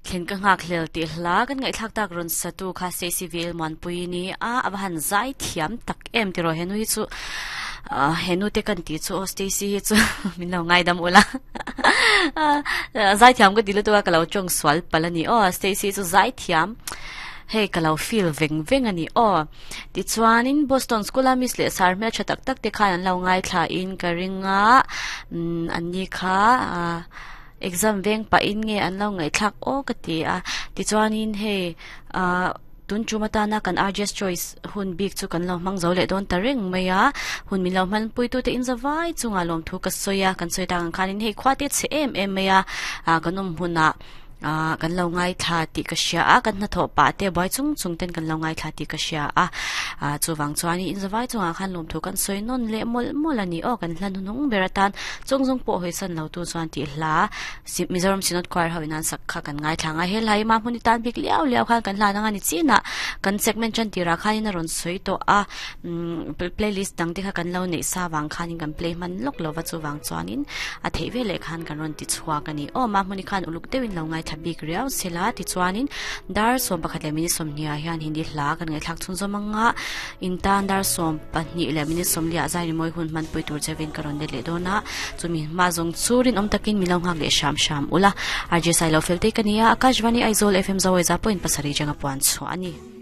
Thlen ka nghak hlel tih hla kan ngaihthlak tak rawn satu kha Stacy VL Muanpui ni a, a va han zai thiam tak em tiraw henu hi chu ah henu te kan tih chu aw Stacy hi chu min lo ngaidam ula zai thiam ka ti lutuk a ka lo tawng sual palh a ni aw Stacy chu zai thiam hei ka lo feel veng veng a ni aw tichuanin Boston School a miss leh sar hmeltha tak tak te khan an lo ngaithla in ka ring a umm an ni kha ah. Exam veng pahin nge an lo ngaihthlak aw ka ti a, tichuanin hei ah tun tum atana kan RJ's Choice hun bik chu kan lo hmang zo leh dawn ta reng mai a, hun min lo hmanpuitute in zavai chungah lawmthu ka sawi a, kan sawi tak ang khanin hei khua te chhe em em mai a, ah kan awm hunah ah kan lo ngaithla tih ka hria a, kan hnathawh pah te buai chung chung ten kan lo ngaithla tih ka hria a, ah chuvang chuanin in zavai chungah khan lawmthu kan sawi nawn leh mawlh mawlh a ni aw, kan hla hnuhnung ber atan Chung zung pawh hawisan lo tu chuan tih hla Mizoram Synod Choir ho in an sak kha kan ngaithla ang a, he hla hi mah hmun i tan bik liau liau khan kan hlan ang a ni chinah kan segment tan tirah khanin a rawn sawi tawh a, umm playlist dang te kha kan lo neih sa vang khanin kan play hman lawk lo va chuvang chuanin a theih veleh khan kan rawn ti chhuak a ni. Aw mah hmun i khan uluk deuhin lo ngaithla bik riau sela tichuanin dar 11 leh minute 20 ah hian Hindi hla kan ngaihthlak chhunzawm ang a. Intan dar 12 leh minute 40 ah zai rimawi hun hmanpui tur chevin ka rawn let leh dawn a, chumi hma zawng chu rinawm takin min lo nghak leh hram hram ula. RJ Sailo fel te ka ni a, Akashvani Aizawl FM Zawaiza pawhin pasarih changa puan chhuah a ni.